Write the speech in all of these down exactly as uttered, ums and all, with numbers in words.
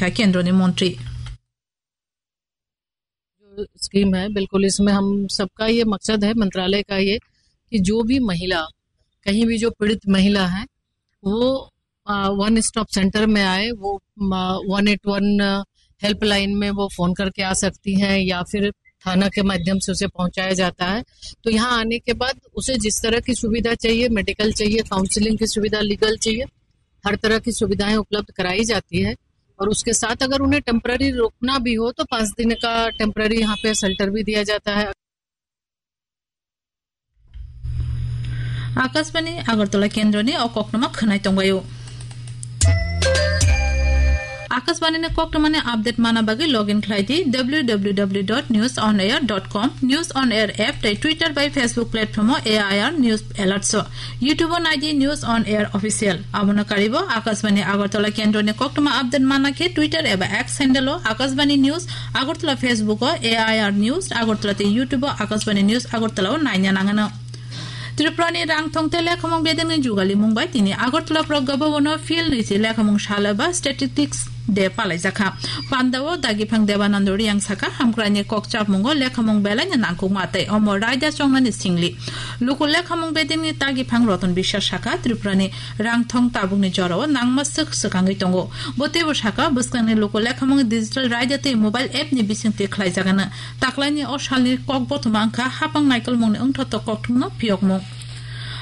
Sikkha Kendroni Montri. जो स्कीम है, बिल्कुल इसमें हम सबका ये मकसद है, मंत्रालय का ये, कि जो भी महिला, कहीं भी जो पीड़ित महिला है, वो, अ, वन स्टॉप सेंटर में आए, वो, अ, वन एट वन हेल्पलाइन में वो फोन करके आ सकती हैं या फिर थाना के माध्यम से उसे पहुंचाया जाता है। तो यहाँ आने के बाद उसे जिस तरह की सुविधा चाहिए, मेडिकल चाहिए, काउंसलिंग की सुविधा, लीगल चाहिए, हर तरह की सुविधाएं उपलब्ध कराई जाती है। और उसके साथ अगर उन्हें टेम्परेरी रुकना भी हो तो पाँच दिन का टेम्परेरी यहाँ पे शेल्टर भी दिया जाता है। Akashbani Agartala Kendroni o koktwma khwnai tongbaio. Akashbani ni koktwmani update mana bagwi login khlai di W W W dot news on air dot com, News on Air app tei Twitter bai Facebook platform o A I R News Alerts o. YouTube o nai di News on Air Official. Abono karibo Akashbani Agartala Kendroni koktwma update mana khe Twitter eba X handle o Akashbani News Agartala, Facebook o A I R News Agartala tei YouTube o Akashbani News Agartala o naina nangano. Tripura ni rang thong tei lekhamung bedengni jugalimung bai tini Agartala Pragya Bhavan o Phil nwichi lekhamung sal eba Statistics Day palaijakha. Panda o Dagiphang Debanando Riyang sakha, hamkrai ni kok chapmung o lekhamung belai ni nangkukma tei omo raida chongnani singli. Luku lekhamung bedengni Dagiphang Roton Biswas sakha, Tripura ni rang thong tabukni jora o nangma swk swkangwi tongo. Bo teibo sakha, bwskangni luku lekhamung digital raida tei mobile app ni bisingtwi khlaijagano. Taklaini o salni kok bothoma wngkha hapang naikolmungni wngthotok kokthumno phiyokmung.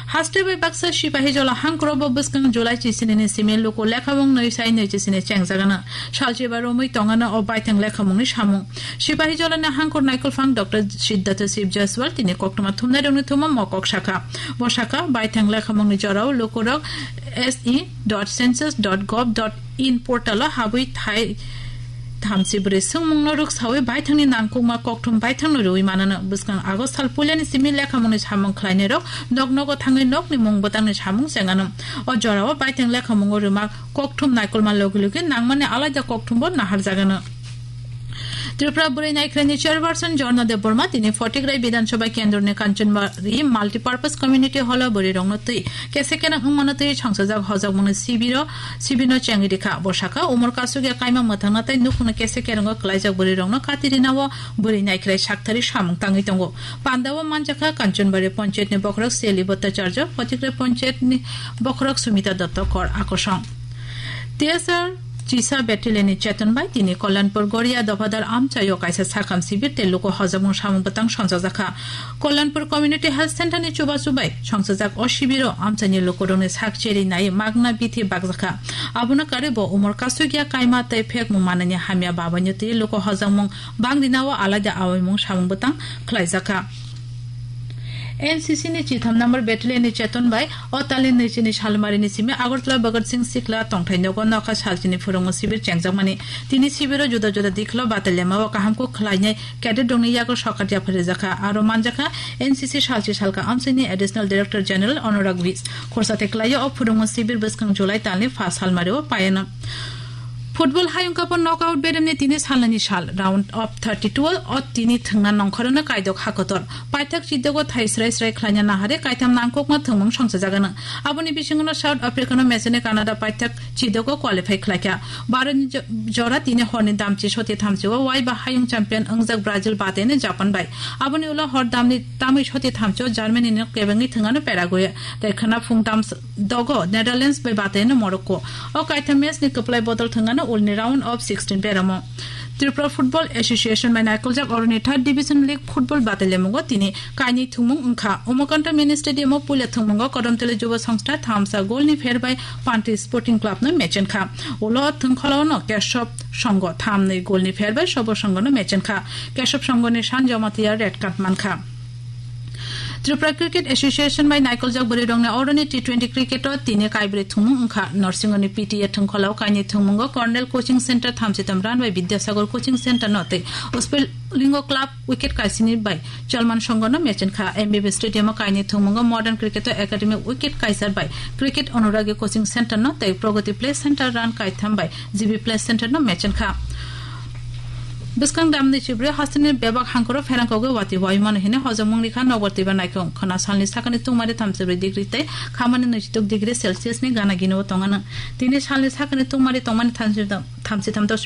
Haste bai baksa Sipahijola hangkro bo bwskang July chisini ni simi luku lekhamung nwi sai nwi chisini chengjagano. Salchiba romwi tongano o baithang lekhamungni samung. Sipahijolani hangkor naikolphang Doctor Siddhartha Shiv Jaiswal tini koktwma thumnairokni thumma mokok sakha. Bo sakha, baithang lekhamungni jorao lukurok S E dot census dot gov dot in portal o habwi thai thamchi bwrwi swngmungno rwksawi baithangni nangkukma kokthum baithangno rwui manano. Bwskang August sal puilani simi lekhamungni samung khlainairok nok nogo thangwi nokni mung bwtangni samung chengano. O jorao baithang lekhamungo rwma kokthum naikolma logi logi nangmani alaida kokthumbo naharjagano. Tripura Bwrwi Naikhraini chairperson Jorna Debbarma tini Photikrai Bidhan Sabha Kendroni Kanchanbari Multipurpose Community Hall o bwrwi rokno twi kese kereng wngmano twi songchajak hojakmungni sibiro, sibirno chengwi rikha. Bo sakha, umor kasugya kaima mwthangna tei nukhungno kese kerengo kwlaijak bwrwi rokno kati rinao bwrwi naikhrai sakthari samung tangwi tongo. Pandao manjakha Kanchanbari Panchayat ni bokhorok Seli Bhattacharya, Photikrai Panchayat ni bokhorok Sumita Dotto Kor Akosong. T S R Chisa Battalion ni cheton bai tini Kalyanpur Goria Dophader amchaio kaisa sakham sibir tei luku hojakmung samung bwtang songchajakha. Kalyanpur Community Health Center ni chubachu bai songchajak o sibiro amchaini lukurokni sak cherwi nai magna bithi bakjakha. Abono karwi bo umor kasugya kaima tei phekmung manani hamya babaino twi luku hojakmung bangrinao alaida awaimung samung bwtang khlaijakha. N C C ni chitham number battalion ni cheton bai o talin nwichini salmari ni simi Agartala Bhagat Singh Sikla tongthai nogo nokha salchini phwrwngmung sibir chengjakmani. Tini sibiro juda juda dikhlo battalion o kaham kuk khlainai cadet rokni yago sokat yapharjakha. Aro manjakha N C C salchi salka amsini Additional Director General Anurag Vij. Khorsa te kwlaio o phwrwngmung sibir bwskang July talni pha salmari o payano. Football hayung cup o knockout bedemni tini salnani sal, round of thirty-two o tini thwngna nongkhorno kaidok hakotor. Paithak chidogo thai srai srai khlaina nahare kaitham nangkukma thwngmung songchajagano. Aboni bisingono South Africa no mechene Canada paithak chidogo qualify khlaikha. Baro ni jo-, jora tini horni damchi soti thamchi o waiba hayung champion wngjak Brazil batene Japan bai. Aboni ulo hor damni tamwi soti thamchi o Germany no kebengwi thwngano Paraguay. Tei khwna phung tam dogo Netherlands bai bateno Morocco. O kaitham match ni kwplai bodol thwngano ulni round of sixteen beramo. Tripura Football Association bai naikoljak oroni third division league football batailemungo tini kainwi thwngmung wngkha. Umakanta Mini Stadium o puila thwngmungo Kodomtali Jubo Songstha thamsa golni pher bai Panti Sporting Club no mechenkha. Ulo thwngkholaono Keshob Songho thamnwi golni pher bai Sobo Songho no mechenkha. Keshob Songho ni San Jamatia red card mankha. Tripura Cricket Association bai naikoljak bwrwi rokni oroni T twenty cricket o tini kaibrwi thwngmung wngkha. Norsingoni P T A thwngkholao kainwi thwngmungo Cornell Coaching Center thamsitam run bai Vidyasagar Coaching Center no tei Uspelingo Club wicket kaisini bai Chalman Songho no mechenkha. M B B Stadium o kainwi thwngmungo Modern Cricket Academy wicket kaisar bai Cricket Anuragi Coaching Center no tei Pragati Play Center run kaitham bai G B Play Center no mechenkha. Bwskang damni chibri hasteni bebak hangkoro pherangkogwi watwi waimano hini hojongmung rikha nokbar twiba naikung khwna salni sakani tungmari thamsibri degree tei khamani nwichituk degree Celsius ni gana gini o tongano. Tini salni sakani tungmari tongmani thamsi, thamsi thamto